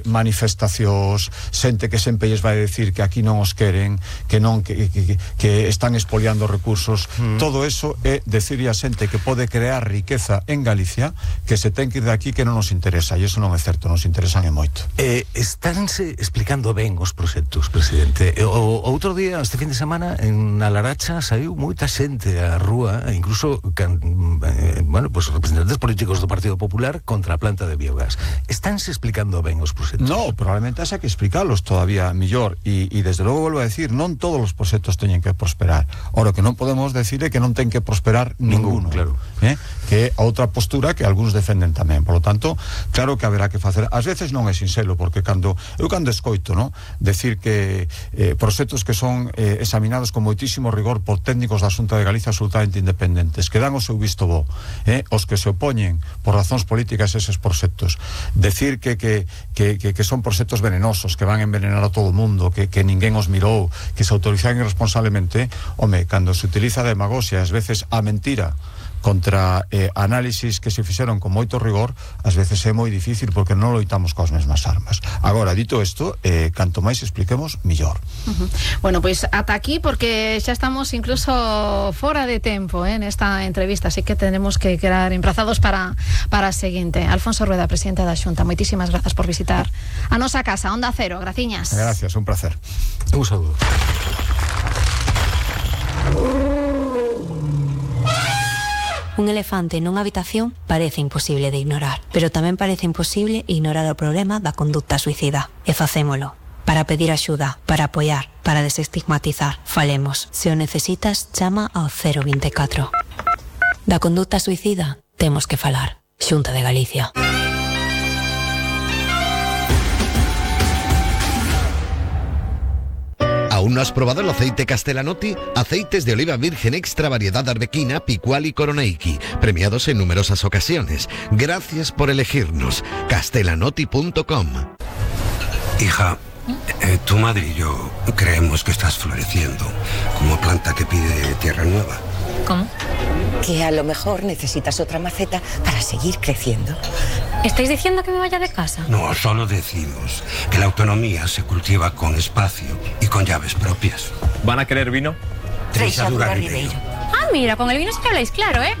manifestacións, xente que sempre lles vai decir que aquí non os queren, que non que están expoliando recursos. Todo eso é decirle a xente que pode crear riqueza en Galicia que se ten que ir de aquí, que non nos interesa, e iso non é certo, nos interesan e moito. Estánse explicando ben os proxectos, presidente. O outro día, este fin de semana, en Alaracha saiu moita xente á rúa, incluso pues representantes políticos do Partido Popular contra a planta de biogás. Estánse explicando ben os proxectos? No, probablemente haxa que explicarlos todavía millor, e desde logo volvo a decir, non todos os proxectos teñen que prosperar. Ora, que non podemos decir é que non ten que prosperar ninguno, claro. Que é a outra postura que algúns defenden tamén. Por lo tanto, claro que haberá que facer. Ás veces non é sinxelo, porque cando escoito, no, decir que proxectos que son examinados con moitísimo rigor por técnicos da Xunta de Galicia absolutamente independentes, que dan o seu visto bo, os que se opoñen por razóns políticas eses proxectos, decir que son proxectos venenosos, que van a envenenar a todo o mundo, que ninguén os mirou, que se autorizan irresponsablemente, cando se utiliza a demagoxia, ás veces a mentira, contra análisis que se fixeron con moito rigor, ás veces é moi difícil porque non loitamos coas mesmas armas. Agora, dito isto, canto máis expliquemos, millor. Bueno, pois ata aquí, porque xa estamos incluso fora de tempo nesta entrevista, así que tenemos que quedar emplazados para a seguinte. Alfonso Rueda, presidente da Xunta, moitísimas grazas por visitar a nosa casa, Onda Cero. Graciñas. Gracias, un placer. Un saludo. Un elefante nunha habitación parece imposible de ignorar, pero tamén parece imposible ignorar o problema da conducta suicida. E facémolo. Para pedir axuda, para apoiar, para desestigmatizar. Falemos. Se o necesitas, chama ao 024. Da conducta suicida temos que falar. Xunta de Galicia. ¿Aún no has probado el aceite Castellanotti? Aceites de oliva virgen extra variedad arbequina, picual y coroneiki, premiados en numerosas ocasiones. Gracias por elegirnos. Castellanotti.com. Hija, tu madre y yo creemos que estás floreciendo como planta que pide tierra nueva. ¿Cómo? Que a lo mejor necesitas otra maceta para seguir creciendo. ¿Estáis diciendo que me vaya de casa? No, solo decimos que la autonomía se cultiva con espacio y con llaves propias. ¿Van a querer vino? Treixadura Ribeiro. Ah, mira, con el vino sí que habláis claro, ¿eh?